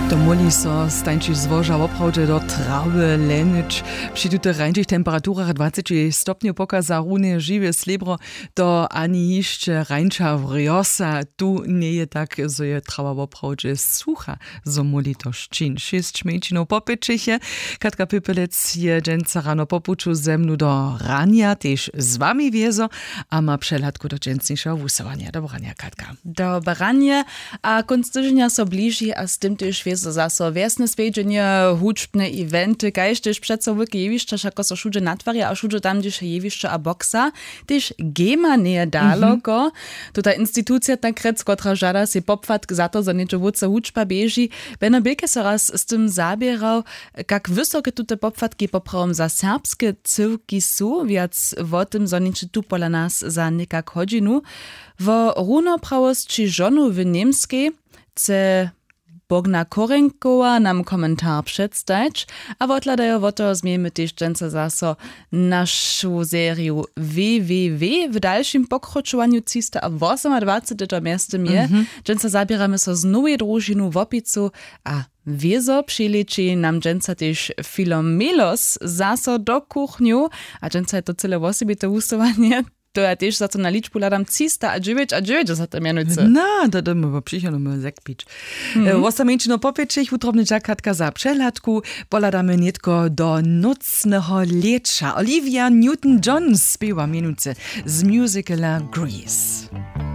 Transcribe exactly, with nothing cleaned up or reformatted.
To móhli so stańći złoža woprawdźe do trawy lenić. Při tutych rańšich temperaturach dwaceći stopnjow pokaza runje žiwe slěbro. To ani hišće rańša wrjosa tu njeje tak, zo je trawa woprawdźe sucha, zo móhli to šćin šěsć mjeńšinow popytřiche. Katka Pipelec je dźensa rano po puću ze mnu do Ranja tež z wami wjezo a ma přehladku do dźensnišeho wusyłanja. Dobranja, Katka. Dobranje. A kónc tyženja so bliži a z tym tež wězo zaso wjesne swjedźenje, hudźbne eventy, kaž tež přeco wulke jewišća, wšako so wšudźe natwarja a wšudźe tam, hdźež je jewišće a boksa, tež gema njeje daloko. Tuta institucija takrjec, kotra žada sej popłatk za to, zo něhdźe wótře hudźba běži. Beno Bilke so raz z tym zaběrał, kak wysoke tute popłatki poprawom za serbske cyłki su, wjac wo tym zhonjeće tu pola nas za někak hodźinu. Wo runoprawosći žonow w Němskej chce Bogna Korenkowa nam komentar předstajić a wothladajo. Wot toho změjemy tež dźensa zaso našu seriju www w dalšim pokročowanju třista a wosomadwaceteho mjeztym je. Dźensa zaběramy so z nowej družinu wopicu a wězo přilěči nam dźensa tež filomelos zaso do kuchnju. A dźensa je to cyle wosebite wusyłanje. To ja tež za to na ličbu hladam třista a dźewjećadźewjećdźesat mjenujcy. Na to dymy wo přichodnym zek pić. Wosameńšino popjećich wutrobny dźakatka za přehladku. Pohladamy nětko do nócneho lěća. Olivia Newton-John spěwa mjenujcy z musicala Grease.